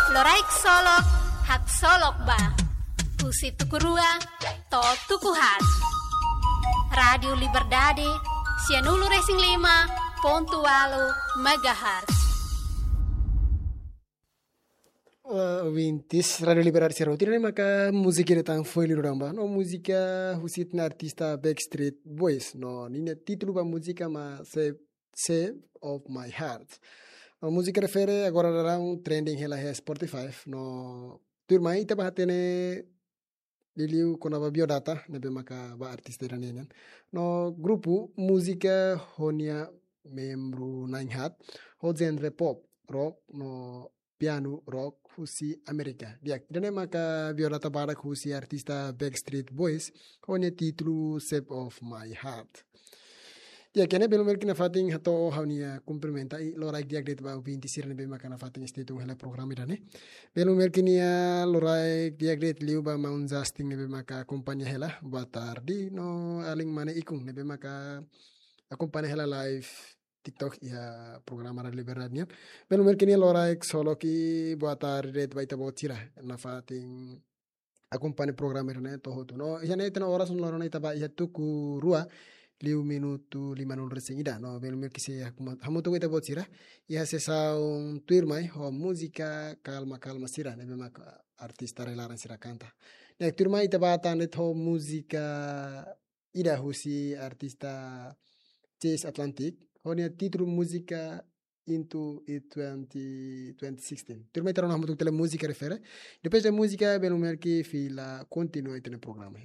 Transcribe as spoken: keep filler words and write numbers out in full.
Loraik Solok, haksolok ba. Husi tuku rua to'o tuku haat. Rádiu Liberdade, sianulu-resin-lima pontu ualu megahertz. Eh, ouvintes Rádiu Liberdade sira hotu, ne'e maka múzika ida tan foin liu daudaun ba. No múzika husi ita-nia artista Backstreet Boys. No ninia títulu ba múzika mak Shape, Shape of My Heart. No múzika refere agora daudaun trending hela iha Spotify. No tuirmai ita bá hatene liuliu kona-ba biodata ne'ebé maka ba artista ida-ne'e nian. No grupu múzika ho nia membru na'in haat, ho genre pop, rock no piano rock husi Amérika. Di'ak, ida-ne'e maka biodata badak husi artista Backstreet Boys, ho nia títulu Shape of My Heart. Di'ak, iha ne'e belun merki nafatin hato'o ha'u-nia kumprimenta i loraik di'ak de'it ba ouvinte sira ne'ebé maka nafatin stay tune hela programa ida-ne'e. Belun merki nia loraik di'ak de'it liu ba maun Justin ne'ebé maka akompaña hela. Boa tarde, no alin mane Ikun ne'ebé maka akompaña hela live TikTok iha programa Rádiu Liberdade nian. Belun merki nia loraik solok i boa tarde de'it ba ita-boot sira nafatin akompaña programa ida-ne'e to'o hotu. No iha ne'e ita-nia oras no loron ita bá iha tuku rua liu minutu limanulu-resin-ida. No belun merki sei hamu-, hamutuk ho ita-boot sira iha sesaun tuirmai ho múzika kalma-kalma sira ne'ebé maka artista rai-laran sira kanta. Ne'e tuirmai ita bá tan de'it ho múzika ida husi artista Chase Atlantic, ho nia títulu múzika Into It twenty, twenty sixteen. Tuirmai ita rona hamutuk tiha múzika refere. Depois de múzika, belun merki fila kontinua ita-nia programa.